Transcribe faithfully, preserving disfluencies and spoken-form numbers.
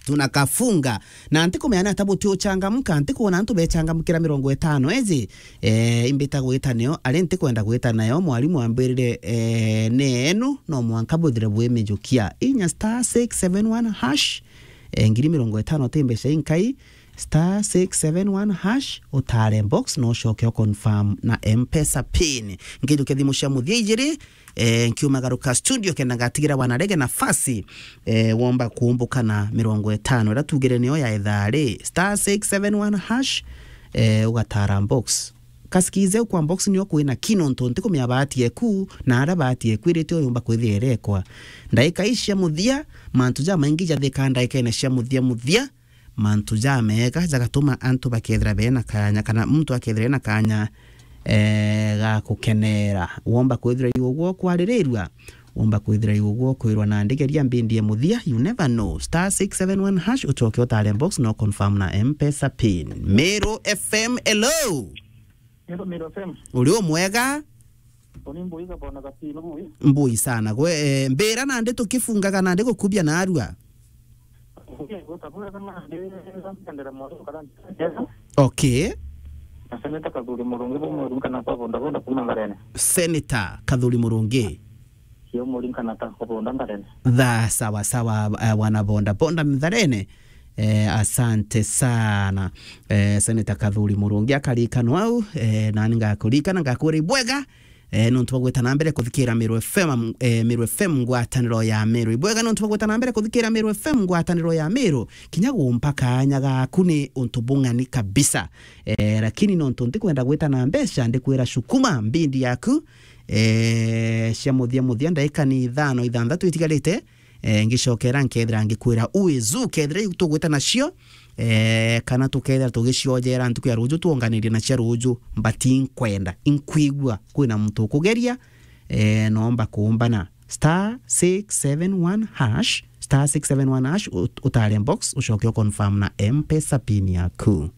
tunakafunga. Na ntikumenya ni ata buti uchangamka, ntikwona antu bechangamkira mirongo itano eji. Eh, imbita gwita nio, ari ntikwenda gwita nayo, mwarimu ambirire, eh, ni enu, no mwanka buthire bwimijukia. Inya star six seven one hash, eh, ngiri mirongo itano ti mbeca inkai, star six seven one hash, utare box, no ucoke u confirm na M-Pesa pin. Nkijukia thimu cia muthia ijiri, eh, nkiumagaruka studio kenda ngatigira wanarege nafasi, eh, womba kuumbukana mirongo itano, ira tugire niyo ya ithaa ri, star six seven one hash, eh, ugatara box. Kasikize kwa box niyo kwina ki nontu ntikumenya bahati eku, na ara bahati eku irite uyumba kwithia irekwa. Ndaika ici cia muthia, mantu jamaingi jathika ndaikene cia muthia muthia, mantu jamega jagatuma antu bakethira bena kanya, kana muntu akethira ena kanya, eh, ga kukenera. Womba kwithira yu uguo kwaririrua, womba kwithira yu uguo kwirwa na ndigeria mbindi ya muthia, you never know. Star six seven one hash, ucoke utare box, no confirm na M-Pesa pin. Meru F M, hello. Hello, Meru F M. Uri umwega? Uni mbuiga bona gatino bui. Mbui sana. Gwe, eh, mbira nandi tukifungaga nandi gukubia narua. Uge gutabura kana ndi ndera moro kana. Okay. Na Senator Kathuri Murungi bo muri kana kwa bonda bonda kuma Ngarene. Senator Kathuri Murungi. Sio muri kana ta kwa bonda Ngarene. Tha, sawa sawa, eh, wana bonda bonda Ngarene. Eh, asante sana. Eh, Senator Kathuri Murungi akarikano au, eh, nani ngakurikana, ngakwira ibwega. Eh, nontu bwa gwita na mbere kuthikira Meru F M, eh, Meru F M ngwataniro ya Meru. Ibwega nontu bwa gwita na mbere kuthikira Meru F M ngwataniro ya Meru. Kinya gumpa kanya gaku ni untu bung'ani kabisa. Eh, lakini nontu ntikwenda gwita na mbeca, ndikwira shukuma mbindi yaku, eh, cia muthia muthia, ndaika ni ithano, ithanthatu itigarite, eh, ngicokera nkethira ngikwira uizu, kethira iu tugwita nacio, eh, kana tukethira tugiciojera ntuku ya ruju, twonganirie na cia ruju, but inkwenda, inkwigua kwina muntu ukugeria, eh, nomba kumbana. Star six seven one hash, star six seven one hash, ut-, utare box, ucoke u confirm na M-Pesa pin yaku.